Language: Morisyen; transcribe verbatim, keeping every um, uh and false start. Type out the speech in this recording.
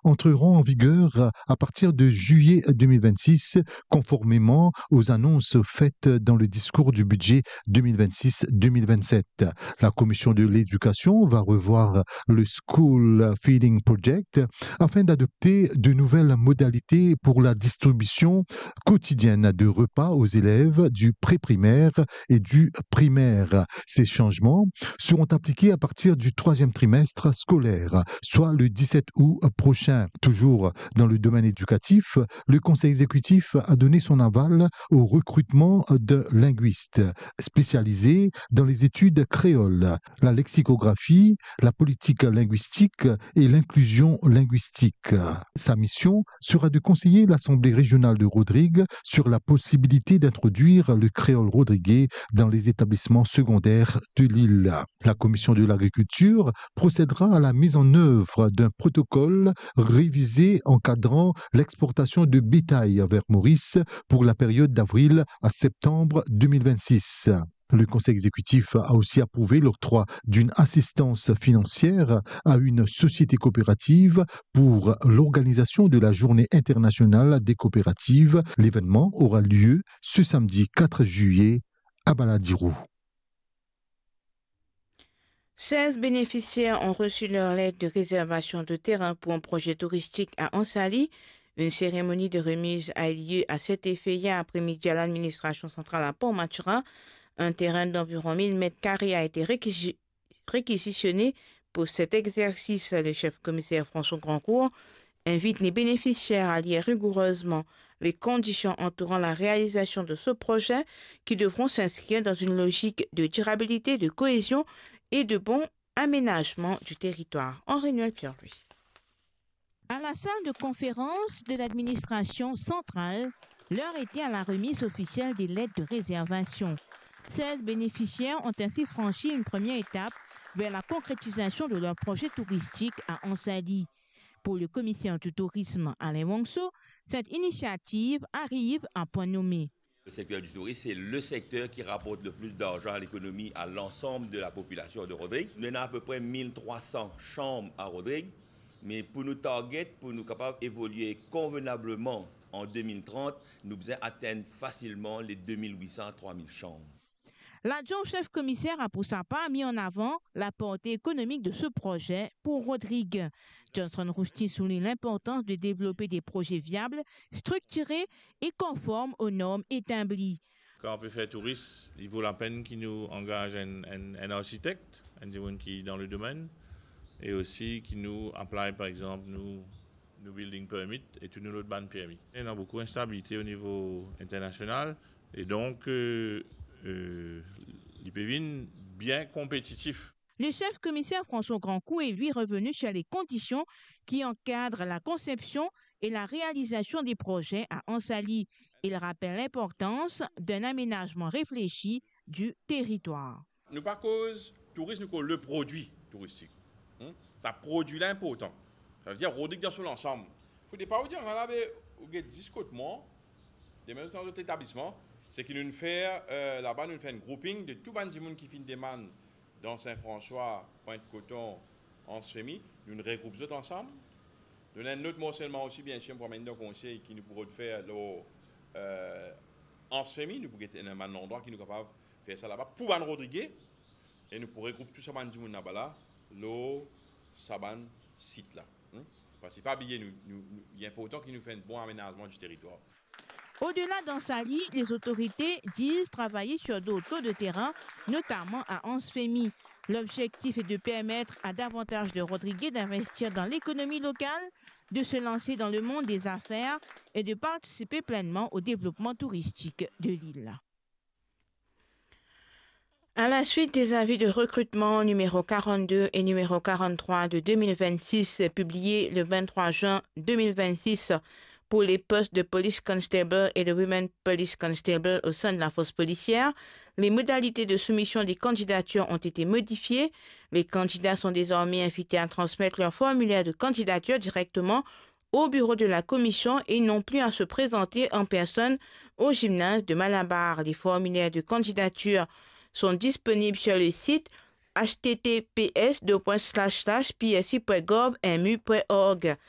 entreront en vigueur à partir de juillet deux mille vingt-six, conformément aux annonces faites dans le discours du budget deux mille vingt-six deux mille vingt-sept. La commission de l'éducation va revoir le School Feeding Project afin d'adopter de nouvelles modalités pour la distribution quotidienne de repas aux élèves du pré-primaire et du primaire. Ces changements seront appliqués à partir du troisième trimestre scolaire, soit le dix-sept août prochain. Toujours dans le domaine éducatif, le Conseil exécutif a donné son aval au recrutement de linguistes spécialisés dans les études créoles, la lexicographie, la politique linguistique et l'inclusion linguistique. Sa mission sera de conseiller l'Assemblée régionale de Rodrigues sur la possibilité d'introduire le créole rodriguais dans les établissements secondaires de l'île. La commission de l'agriculture procédera à la mise en œuvre d'un protocole révisé encadrant l'exportation de bétail vers Maurice pour la période d'avril à septembre deux mille vingt-six. Le Conseil exécutif a aussi approuvé l'octroi d'une assistance financière à une société coopérative pour l'organisation de la Journée internationale des coopératives. L'événement aura lieu ce samedi quatre juillet à Ballads-Diroux. Seize bénéficiaires ont reçu leur lettre de réservation de terrain pour un projet touristique à Anse-Alix. Une cérémonie de remise a eu lieu à cet effet hier après-midi à l'administration centrale à Port Mathurin. Un terrain d'environ mille mètres carrés a été réquisi-, réquisitionné pour cet exercice. Le chef commissaire François Grandcourt invite les bénéficiaires à lire rigoureusement les conditions entourant la réalisation de ce projet, qui devront s'inscrire dans une logique de durabilité, de cohésion et de bon aménagement du territoire. Henri-Noël Pierre-Louis. À la salle de conférence de l'administration centrale, l'heure était à la remise officielle des lettres de réservation. Seize bénéficiaires ont ainsi franchi une première étape vers la concrétisation de leur projet touristique à Anse-Alix. Pour le commissaire du tourisme, Alain Wangso, cette initiative arrive à point nommé. Le secteur du tourisme, c'est le secteur qui rapporte le plus d'argent à l'économie, à l'ensemble de la population de Rodrigues. Nous avons à peu près mille trois cents chambres à Rodrigues, mais pour nous target, pour nous capables d'évoluer convenablement en deux mille trente, nous avons besoin d'atteindre facilement les deux mille huit cents à trois mille chambres. L'adjoint au chef commissaire a pour sa part mis en avant la portée économique de ce projet pour Rodrigues. Johnson Rousty souligne l'importance de développer des projets viables, structurés et conformes aux normes établies. Kan nou pe fer touris, li vo lapenn ki nou angaz enn, enn, enn arsitek, enn dimoun ki dan le domenn, e osi ki nou apply, par exanp, nou, nou building permit e tou nou lot bann permi. Ena boukou instabilite o nivo internasional, e donk, euh, euh, li pe vinn bien konpetitif. Le chef commissaire François Grandcourt est lui revenu sur les conditions qui encadrent la conception et la réalisation des projets à Anse-Alix. Il rappelle l'importance d'un aménagement réfléchi du territoire. Nou pa koz touris, nou koz le produit touristique. Hmm? Sa produi la inportan. Savedir Rodrig dan so lansam. Fode pa ou dir, ala be, ou get zis kot mwa, demin dan zot etablisman, seki nou fer, euh, laba nou fer enn grouping de tou bann dimoun ki finn demann dan Saint-François, Pointe-Coton, Anse-Femy, nou regroup zot ansam. Nou ena enn lot morselman osi, biensir, pou amenn dan konsey ki nou pou rod fer lor, euh, Anse-Femy, nou pou get enn bann landrwa ki nou kapav fer sa laba pou bann Rodrige, e nou pou regroup tou sa bann dimoun laba la, lor sa bann sit la. Hmm? Parski pa bliye, nou, nou, nou, li inportan ki nou fer enn bon amenazman di teritwar. Au-delà d'Anse-Alix, les autorités disent travailler sur d'autres lots de terrain, notamment à Anse-Femy. L'objectif est de permettre à davantage de Rodriguais d'investir dans l'économie locale, de se lancer dans le monde des affaires et de participer pleinement au développement touristique de l'île. À la suite des avis de recrutement numéro quarante-deux et numéro quarante-trois de deux mille vingt-six publiés le vingt-trois juin deux mille vingt-six pour les postes de police constable et de women police constable au sein de la force policière, les modalités de soumission des candidatures ont été modifiées. Les candidats sont désormais invités à transmettre leur formulaire de candidature directement au bureau de la commission et n'ont plus à se présenter en personne au gymnase de Malabar. Les formulaires de candidature sont disponibles sur le site h t t p s deux points slash slash p s i point gov m u point org.